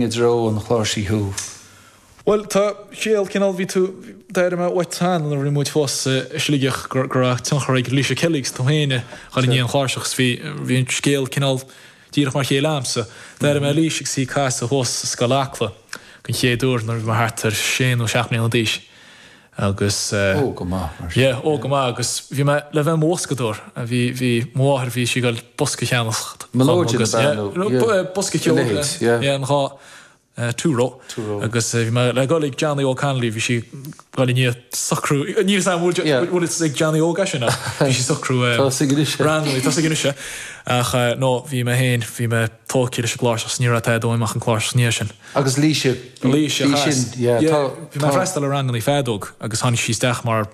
I dtreo an chláirsigh thú? Bhuel, tá scéal cineál, bhí tú, d'airigh mé uait cheana nuair a bhí muid fós i Sligeach go raibh tionchar ag Laoise Kelly agus tú féin a dhul i ndiaidh an chláirseach agus bhí, bhí an scéal cineál díreach mar a chéile a'msa. D'airigh mé Laoise agus í ag casadh thuas i Scoil Acla den chéad uair nuair a bhí mé thart ar sé nó seacht mbliana d'aois. Agus. Óg go maith, mar sin. Yeah, óg go maith agus bhí mé le bheith i mo bhoscadóir. Bhí, bhí, mo mháthair, bhí sí ag goil bosca a cheannacht dhom agus, yeah, yeah, bosca ceoil, yeah, yeah, an dá, two row. Two row. Agus bhí mé le goil ag Johnny Óg Connolly, bhí sí ag goil i ndiaidh socrú, níl 'fhios a'm bhfuil, bhfuil fhios ag Johnny Óg é sin ach bhí sí socrú, Tá 'fhios aige anois. ranganna, tá 'fhios aige anois é. Ach no, bhí mé féin, bhí mé tógtha leis an gcláirseach 's ní raibh tada uaim ach an cláirseach ina dhiaidh sin. Agus Laoise, Laoise, bhí sin, yeah, tá, Bhí mé ag freastal ar ranganna feadóg agus tháinig sí isteach mar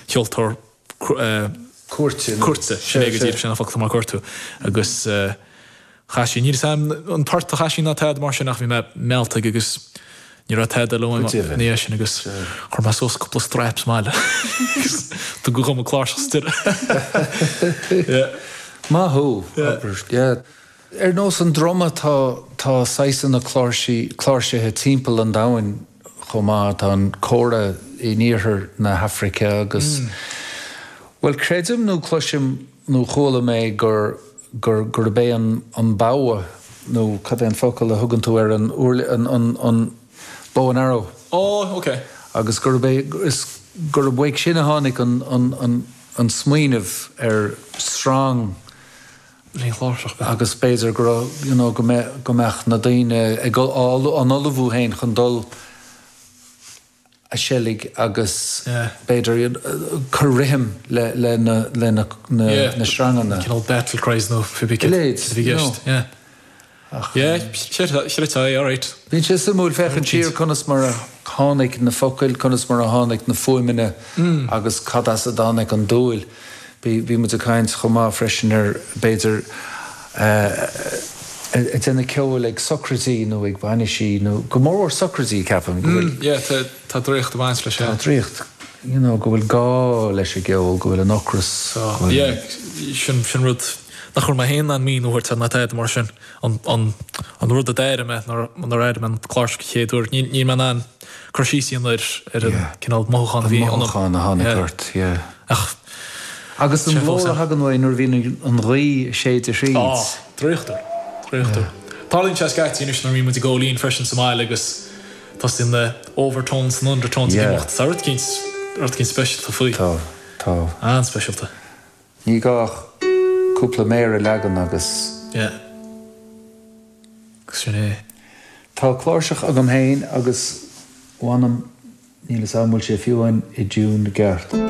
cheoltóir cuairte, cuairte, sin é go díreach, sin an focal mar cuairte agus chas sí, níl 'fhios a'm an port a chas sí ná tada mar sin ach bhí mé meallta aici agus ní raibh tada eile uaim ina dhiaidh sin agus chuir mé suas cúpla strap sa mbaile agus tugadh dhom an cláirseach sa deireadh. Yeah. Maith thú, abair, yeah. Ar nós an druma tá tá saghsanna cláirsí cláirsithe timpeall an domhain chomh maith. Tá an kora in iarthar na hAfraice agus, bhuel creidim nó cloisim nó chuala mé gur gur gurb é an an bogha nó cad é an focal a thugann tú ar an an an an bow and arrow. Ó, ok. Agus gurb é is gurb uaidh sin a tháinig an an an an smaoineamh ar sreang Lena chláirseach. Agus b'fhéidir go raibh, you know, go mbeadh, go mbeadh na daoine ag, á n-ullmhú féin chun dul a seilg agus b'fhéidir cur rithim le, le na, le na, na sreanganna. Cineál battle cries nó pé bith cad a bhí i gceist. Yeah. Ach. Yeah, chreidfeá é, alright. Bíonn sé suimiúil féachaint siar conas mar a tháinig na focail, conas mar a tháinig na fuaimeanna agus cad as a dtáinig an dúil. Bhí muid ag caint chomh maith freisin ar, b'fhéidir, ag déanamh ceoil ag socraidí nó ag bainisí nó go mórmhór socraidí, ceapaim, go bhfuil. Yeah, tá draíocht ag baint leis, yeah. Tá draíocht, you know, go bhfuil gá leis an gceol, go bhfuil an ocras, go bhfuil. Yeah, sin rud. Nach raibh mé féin in ann míniú a thabhairt air ná tada mar sin. An rud a d'airigh mé nuair a airigh mé an chláirseach an chéad uair, níl mé in ann cur síos a dhéanamh ar ar an cineál mothúchán a bhí ionam. An mothúchán a tháinig ort, yeah. Ach Agus an glór a thagann uaidh nuair a bhíonn an ghaoth ag séideadh thríd. Á, draíochtúil. Draíochtúil. Tarlaíonn sé scaití anois nuair a bhíonn muid ag ól fhíon freisin sa mbaile agus tosaíonn na overtones and undertones ag imeacht. Tá rud eicínt, rud eicínt speisialta faoi. Tá, tá. An-speisialta. Ní gá ach cúpla méar a leagan agus. Yeah. Agus sin é. Tá cláirseach agam féin agus, mh'anam, níl 'fhios a'm an bhfuil sé fiú amháin i dtiún gceart.